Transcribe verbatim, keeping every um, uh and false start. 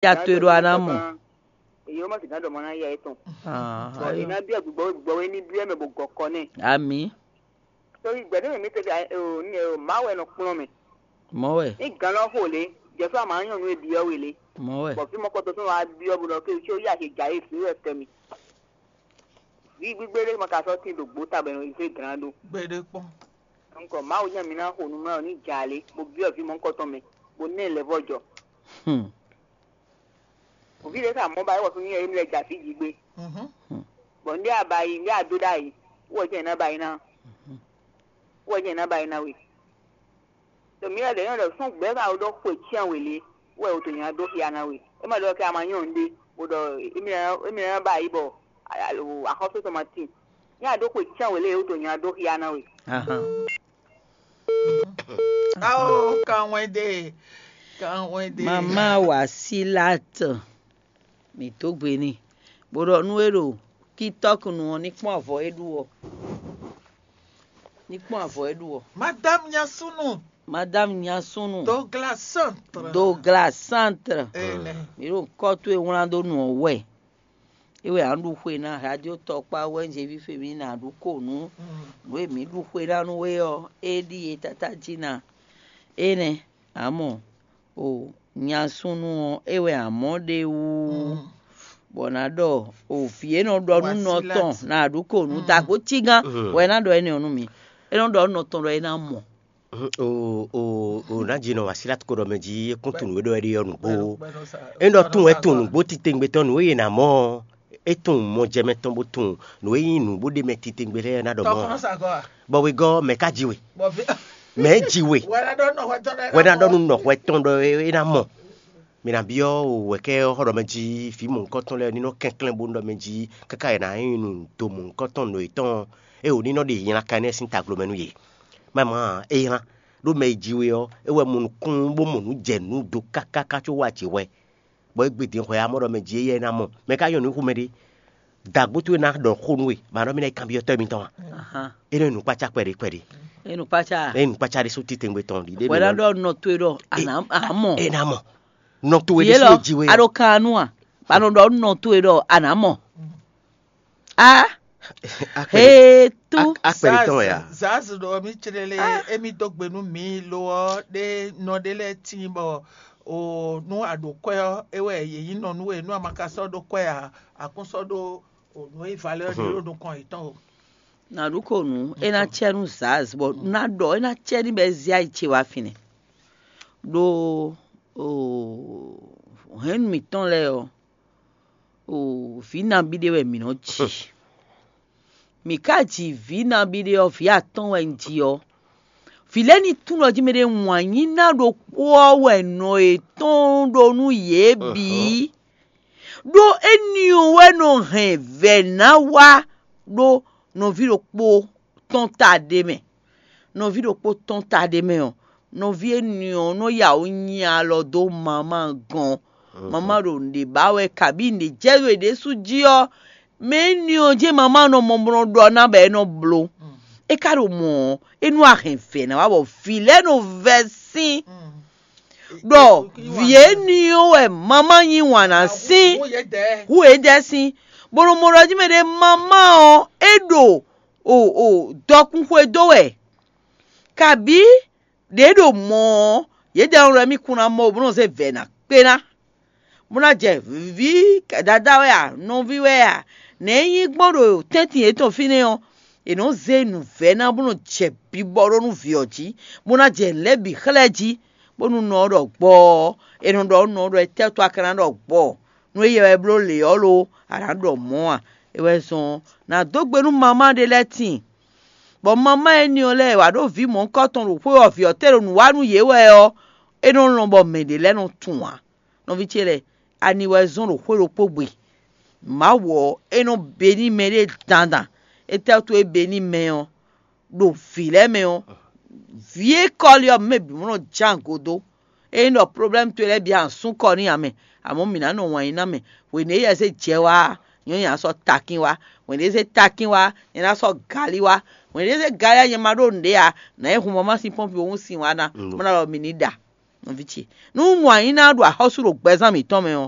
Ya to e ɖo a ná mɔ. Èyí ó má sì ná ɖɔ mɔ ná ya étɔn. Bɔ è ná byɔ́ gbígbɔ gbígbɔ é ní byɔ́ mɛ bó gɔkɔ nɛ. Ami. Torí gbɛ̌ ní mi tɛ́ ní ɛ má wɛ nɔ kplɔ́n mɛ. Mɔ wɛ. Ní gan lɔ xo lě, jɛ fún àmà nyɔnu e byɔ́ we lě. Mɔ wɛ. Bɔ fí mɔ kɔtɔ tún wá byɔ́ bó ɖɔ ké tí ó yá he gǎ é fí wɛ kɛ mi. Vǐ gbígbé ɖé ma ka sɔ́ tín ɖo gbǒ ta bɔ è nɔ yi zé glán ɖó. Gbeɖé kpɔ́n. Nkɔ Mawu nya mi ná xo nú mɛ ɔ́ ní jǎ lé, bó byɔ́ vǐ mɔ̌hunkɔtɔn mɛ, bó ná ɛ lɛ̌ vɔ́ jɔ. Hmm. Vǐ ɖé sa mɔ̌ ba é wɔ fún mì émi lɛ jɛ afí jí gbé. Mhm. Bɔ ndé a ba yi, ndé a dó ɖ'ayǐ, wɔ jɛ́n ná ba yi ná. Wɔ jɛ́n ná ba yi ná we. Ɖo mǐ lɛ́ ɖě nyɔ́ ɖɔ sɔ́n gbɛ̌ ka ɖɔ xwe cyán wě lé, wɛ wǒ dó nya dó xia ná we. É ma ɖɔ kɛ a ma nyɔ́ nǔɖé, bó ɖɔ émí ná émí ná ba yi bɔ axɔ́sú tɔn ma tín. Nya ɖó xwe cyán wě lé, wǒ dó nya dó xia ná we. Ahan. Ao, kanwɛde, kanwɛde. Mama Wasilat, mǐ dó gbe n'i, bó ɖɔ nú é ɖo TikTok nu ɔ́, ní kpɔ́n avɔ é ɖu ɔ́. Ní kpɔ́n avɔ é ɖu ɔ́. Madame Nyasunu. Madame Nyasunu. Douglas Centre. Douglas Centre. Ene. Mǐ ɖo kɔ́ towe wlán dó nǔ ɔ́ wɛ. É wɛ a nɔ ɖu xwe ná, radio tɔkpá wɛ Jévi Femi ná ɖu ko nú nǔ e mǐ ɖu xwe ná nú we ɔ́, é ɖíe tátájí ná. Énɛ́, a mɔ, o nyasúnú ɔ́, é wɛ a mɔ ɖ'é wú, bɔ ná ɖɔ o vǐ e nɔ ɖɔ nú nɔ tɔn ná ɖu ko nú dagbo cígán, bɔ é ná ɖɔ énɛ́ ɔ́ nú mi. É nɔ ɖɔ nú nɔ tɔn ɖɔ é ná mɔ. O o o ná ji nɔ Wasilat ko ɖɔ mɛ jí é kún tunwun nǔ e ɖɔ wɛ ɖe ɔ́ nǔgbó. É ɖɔ tunwun wɛ tunwun nǔgbó titewungbe tɔn nǔ e yě ná mɔ ɔ́, é tunwun mɔjɛmɛ tɔn bó tunwun nǔ e nyí nǔ bó ɖ'é mɛ titewungbe lɛ́ɛ ná ɖɔ mɔ ɔ́. Bɔ wegɔ́ mɛ ka ji we? Mɛ ji we? Wɛ ná ɖɔ nú nɔhwɛ tɔn ɖɔ é ná mɔ. Mi ná byɔ́ wɛ̌kɛ́ xɔ ɖɔ mɛ jí vǐ mɔ̌hunkɔtɔn lɛ́ɛ ní nɔ kɛnklɛ́n bónú ɖɔ mɛ jí káká è nǎ nyí nǔ do mɔ̌hunkɔtɔn nǔ yětɔn e wǒ ní nɔ ɖe nylá ka énɛ́ sín taglomɛ nú yě. Má má é nylá, ɖó mɛ e ji we ɔ́, é wɛ mɔ nukúnnú bó mɔ nǔ jɛ nǔ do kákáká có wá jǐ hwɛ, bɔ é gbe din hwɛ amɔ́ ɖɔ mɛ jí éyɛ́ é ná mɔ. Mɛ ka nyɔ́ nǔ xomɛ ɖé? Dǎgbó towe ná ɖɔ xó nú we, mǎ ɖɔ mì ná yi kanbyɔ́tɔ́ mitɔn a? Ahan. É nɔ nyi nǔkpácá kpɛɖé kpɛɖé. É nǔkpácá. É nyi nǔkpácá ɖésú titewungbe tɔn ɖi ɖé. Wɛ ná ɖɔ nɔ towe ɖɔ a nǎ a mɔ. É ná mɔ. Nɔ towe ɖésú lɔ ji we a ɔ́. Ɖo kan nu a? Ba nɔ ɖɔ nɔ towe ɖɔ a nǎ mɔ. A Akpɛɖé. He tú. Akpɛɖé tɔn wɛ a? Zaz ɖɔ mí clé lé émí dó gbe nú mǐ lo ɔ́ ɖé nɔ ɖé lɛ́ɛ tíin bɔ o nú a ɖo kwɛ́ ɔ́ é wɛ yě nyí nɔ nú we nú a ma ka sɔ́ ɖó kwɛ́ ǎ, a kún sɔ́ ɖó o nǔ e valeur ɖé ɖo nukɔn yětɔn o. Nǎ ɖu ko nǔ, é ná cɛ nú Zaz, bɔ ná ɖɔ é ná cɛ ní bɔ é zé ayi ce wá fínɛ́. Ɖó o hɛ̌nnu mǐtɔn lɛ́ɛ ɔ́, o vǐ nabí ɖé wɛ mǐ nɔ ji. Mǐ ka ji vǐ nabí ɖé ɔ́, vǐ atɔ́ɔ́n wɛ un ji ɔ́, vǐ lɛ́ɛ ní tunwun ɖɔ jí mɛɖé wǎn nyí ná ɖokpó ɔ́ wɛ nɔ yětɔn ɖó nú yě bǐ. Ɖó énɛ́ ɔ́ wɛ nɔ hɛn vɛ̌ ná wá ɖó nɔví ɖokpó tɔn ta ɖé mɛ. Nɔví ɖokpó tɔn ta ɖé mɛ ɔ́, nɔví énɛ́ ɔ́ nɔ ya wǔ nyi alɔ dó mamá gɔ́n. Mamá ɖo nǔɖé ba wɛ kabí nǔɖé jɛ ɖo yě ɖésú jí ɔ́, mɛ énɛ́ ɔ́ jɛ́n mamá nɔ mɔ bó nɔ ɖɔ ná bɔ é nɔ bló. É ka ɖo mɔ̌ ɔ́, é nú a hɛn vɛ̌ ná wá bɔ vǐ lɛ́ɛ nɔ vɛ́ sín ɖɔ vǐ énɛ́ ɔ́ wɛ mamá yí wǎn ná sín hu yědɛɛ sín, bó nɔ mɔ ɖɔ jí mɛ ɖé mamá ɔ́ é ɖo o o dɔkun xwedó wɛ, kabí ɖě ɖo mɔ̌ ɔ́, yědɛɛ nɔ ɖɔ émí kún ná mɔ bó nɔ zé vɛ̌ ná kpé ná, bó ná jɛ vǐ dadá wɛ a, nɔví wɛ a, nɛ̌ é nyí gbɔn ɖo tɛ́ntin yětɔn fínɛ́ ɔ́, è nɔ́ zé nǔvɛ́ ná bó nɔ jɛ bibɔ ɖó nú vǐ ɔ́ jí, bó ná jɛ nǔ lɛ́ɛ bǐ xlɛ́ jí, bónú nɔ ɔ́ ɖɔ gbɔ ɔ́, è nɔ ɖɔ nú nɔ ɔ́ ɖɔ étɛ́ wútu a ka ná ɖɔ gbɔ? Nú éyɛ́ wɛ bló lě ɔ́ lo, a nǎ ɖɔ mɔ̌ a? É wɛ zɔ́n ɔ́, nǎ dó gbe nú mamá ɖé lɛ́ɛ tíin, bɔ mamá énɛ́ ɔ́ lɛ́ɛ wǎ ɖó vǐ mɔ̌hunkɔtɔn ɖo xwé ɔ́ vǐ ɔ́ te ɖo nǔ wa nú yě wɛ ɔ́, é nɔ lɔn bɔ mɛ ɖě lɛ́ɛ nɔ tunwun ǎ. Nɔví ce lɛ́ɛ, ani wɛ zɔ́n ɖo xwé ɖokpó gbe? Mawu ɔ́, é nɔ be n'i mɛ ɖé dandan. Étɛ́ wútu é be n'i mɛ ɔ́? Ɖo vǐ lɛ́ɛ mɛ ɔ́, vǐ e kɔli ɔ́ mɛ bǐ mɔ nɔ ján gǒdó. Ényí ɖɔ problɛ́mu towe lɛ́ɛ bǐ a nǎ sú kɔ n'i ǎ mɛ, amɔ̌ mǐ ná nɔ wǎn yí ná mɛ. Hwenu e yɛ zé jɛ wá ɔ́, nyɔ̌nyɛ ná sɔ́ takín wá. Hwenu e zé takín wá, nyɛ ná sɔ́ galí wá. Hwenu e zé galí wá, nyɛ ma ɖó nǔɖé ǎ, nǎ yi hun mama sín pɔ́npi ɔ́ hún sin wá ná, bó ná ɖɔ mǐ ní ɖa. Nɔví ce, nú un mɔ anyǐ ná ɖo axɔ́sú ɖo gbɛzán mǐtɔn mɛ ɔ́,